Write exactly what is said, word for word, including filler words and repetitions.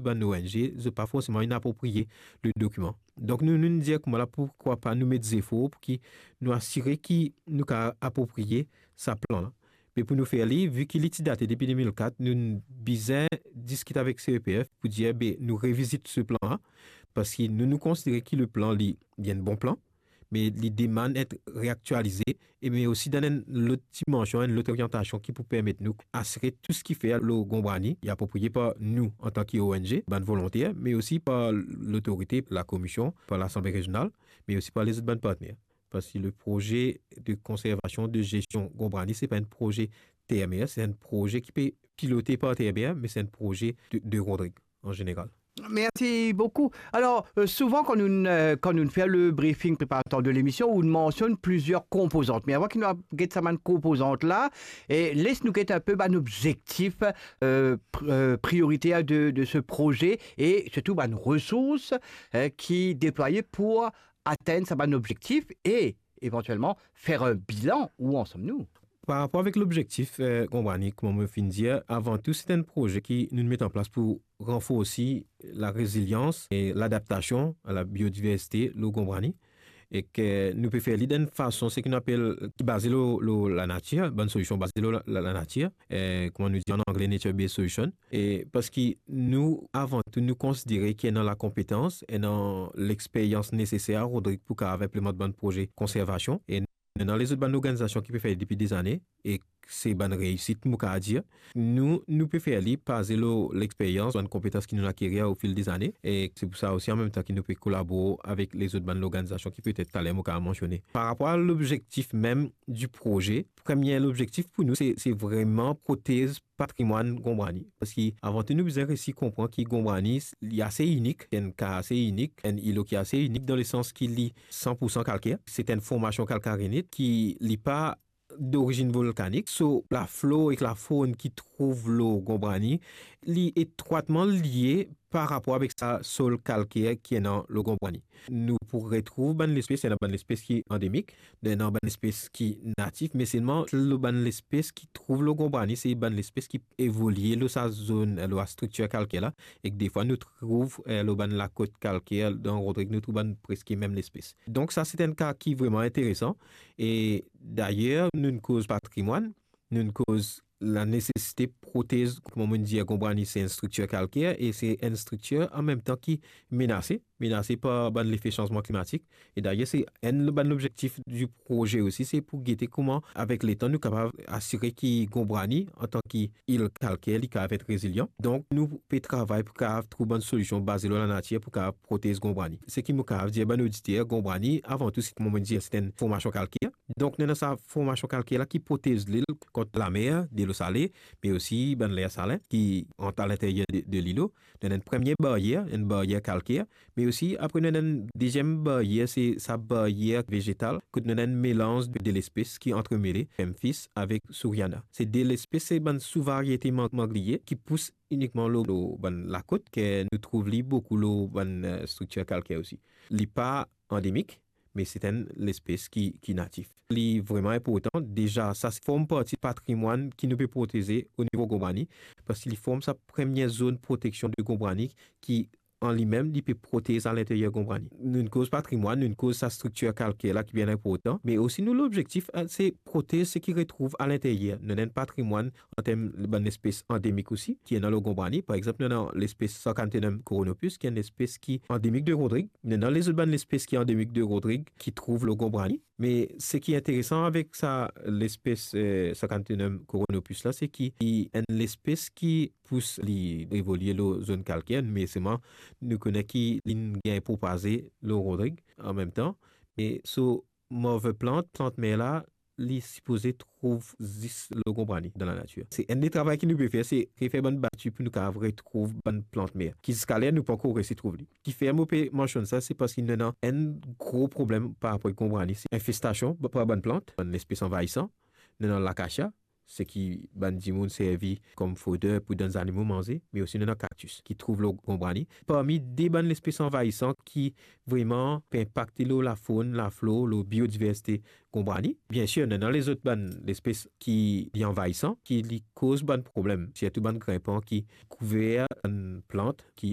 bann O N G, zot pa forseman inn apropriye le dokiman. Donk nou, nou dir kouma la, poukwa pa nou met zefor pou ki nou asire ki nou kapav apropriye sa plan la. Me pou nou fer li, vi ki li ti date depi de mil kat, nou bizin diskit avek C E P F pou dir, be, nou revizit se plan la, parski nou, nou konsidere ki le plan li, li enn bon plan, me li demann et reaktialize, e me osi dan enn lot dimansion, enn lot oryantasion ki pou permet nou asire tou seki fer lor Gonbwani, li apropriye par nou antan ki O N G, bann volonter, me osi par lotorite, lakomision, par Lasanble Rezional, me osi par lezot bann partner. Parski le proze de konservasion, de zestion Gonbwani, se pa enn proze Termer, se enn proze ki pe pilote par Termer, me se enn proze de, de Rodrig an zeneral. Merci beaucoup. Alors, euh, souvent, quand nous, euh, quand nous faisons le briefing préparatoire de l'émission, on mentionne plusieurs composantes. Mais avant que nous guettions ces composantes-là, et laisse-nous guetter un peu, ben, l'objectif euh, pr- euh, prioritaire de, de ce projet et surtout, ben, une ressource euh, qui est déployée pour atteindre sa bann objektif e evantuelman fer enn bilan, où en sommes-nous? Par rapor avek lobzektif, eh, Gonbwani, kouma mo finn dir, avan tou, se enn proze ki nou met an plas pou ranforsi larezilians e ladaptasion a labiodiversite lor Gonbwani, e ki nou pe fer li dan enn fason, seki nou apel, ki baze lor, lor lanatir, bann solision baze lor la, la, lanatir, eh, kouma nou dir an angle, nature-based solution. E parski nou, avan tou, nou konsidere ki ena lakonpetans, ena lexperyans neseser a Rodrig pou kapav inplimant bann proze konservasion. E nou ena lezot bann lorganizasion ki pe fer li depi dezane, e se bann reisit, mo kapav dir. Nou, nou pe fer li baze lor lexperyans, bann konpetans ki nou akerir ofil dezane. E se pou sa osi, an mem tan, ki nou pe kolabor avek lezot bann lorganizasion ki petet taler mo kapav mansione. Par rapor a lobzektif mem di proze, premie lobzektif pou nou, se, se vreman protez patrimwann Gonbwani. Parski avan tou, nou bizin resi konpran ki Gonbwani, li ase inik, enn ka ase inik, enn ilo ki ase inik, dan lesans ki li san pou san kalker. Se enn formasion kalkarinit ki li pa dorizinn volkanik. So, laflor ek lafawn ki trouv lor Gonbwani, li etrwatman lie par rapor avek sa sol kalker ki ena lor Gonbwani. Nou pou retrouv bann lespes, ena bann lespes ki andemik, ena bann lespes ki natif, me selman lor bann lespes ki trouv lor Gonbwani, se bann lespes ki evolie lor sa zone, lor sa striktir kalker la, ek defwa nou trouv, eh, lor bann lakot kalker dan Rodrig, nou trouv bann preske mem lespes. Donk sa, se enn ka ki vreman interesan. E dayer, nou'nn koz patrimwann, nou'nn koz lanesesite protez, kouma mo'nn dir, Gonbwani se enn striktir kalker e se enn striktir an mem tan ki menase, menase par bann lefe sanzman klimatik. E dayer, se enn bann lobzektif di proze osi, se pou gete kouma, avek letan, nou kapav asire ki Gonbwani, antan ki il kalker, li kapav et rezilian. Donk, nou pe travay pou kapav trouv bann solision baze lor lanatir pou kapav protez Gonbwani. Seki mo kapav dir bann oditer, Gonbwani, avan tou, se, kouma mo'nn dir, se enn formasion kalker. Donk, nou ena sa formasion kalker la ki protez li kont lamer, delo sale, me osi bann ler salen ki rant alinteryer de, de lilo. Nou ena enn premie baryer, enn baryer kalker, me osi apre nou ena enn deziem baryer, se sa baryer vezetal, kot nou ena enn melanz de, de lespes ki antremele, Memphis avek Suriana. Se de lespes, se bann souvariete mang-, mangliye ki pous inikman lor, lor bann lakot, ki nou trouv li boukou lor bann, eh, striktir kalker osi. Li pa andemik, me se enn lespes ki, ki natif. Li vreman inportan, deza sa form parti patrimwann ki nou pe proteze o nivo Gonbwani, parski li form sa premie zone proteksion de Gonbwani ki, an limem, li pe protez alinteryer Gonbwani. Nou'nn koz patrimwann, nou'nn koz sa striktir kalker la ki bien inportan, me osi nou lobzektif, eh, se protez seki retrouv alinteryer. Nou ena enn patrimwann an term bann lespes andemik osi, ki ena lor Gonbwani. Par exanp, nou ena lespes Sarcanthellum coronopus, ki enn lespes ki andemik de Rodrig. Nou ena lezot bann lespes ki andemik de Rodrig, ki trouv lor Gonbwani. Me seki interesan avek sa lespes, eh, Sarcanthellum coronopus la, se ki li enn lespes ki pous, li evolie lor zone kalker, me selman nou kone ki li'nn gagn propaze lor Rodrig an mem tan. Me so move plant, plant mer la, li sipoze trouv zis lor Gonbwani dan lanatir. Se enn de travay ki nou pe fer, se refer bann bati pou nou kapav retrouv bann plant mer, ki ziska ler nou pankor resi trouv li. Kifer mo pe mansionn sa, se parski nou ena enn gro problem par rapor ek Gonbwani, se infestasion par bann plant, bann lespes anvayisan. Nou ena lakasia, seki bann dimoun servi kom foder pou donn zanimo manze, me osi nou ena kaktis ki trouv lor Gonbwani. Parmi de bann lespes anvayisan ki vreman pe inpakte lor lafawn, laflor, lor biodiversite Gonbwani. Biensir, nou ena lezot bann lespes ki li anvayisan, ki li koz bann problem, sirtou bann grinpan ki kouver bann plant ki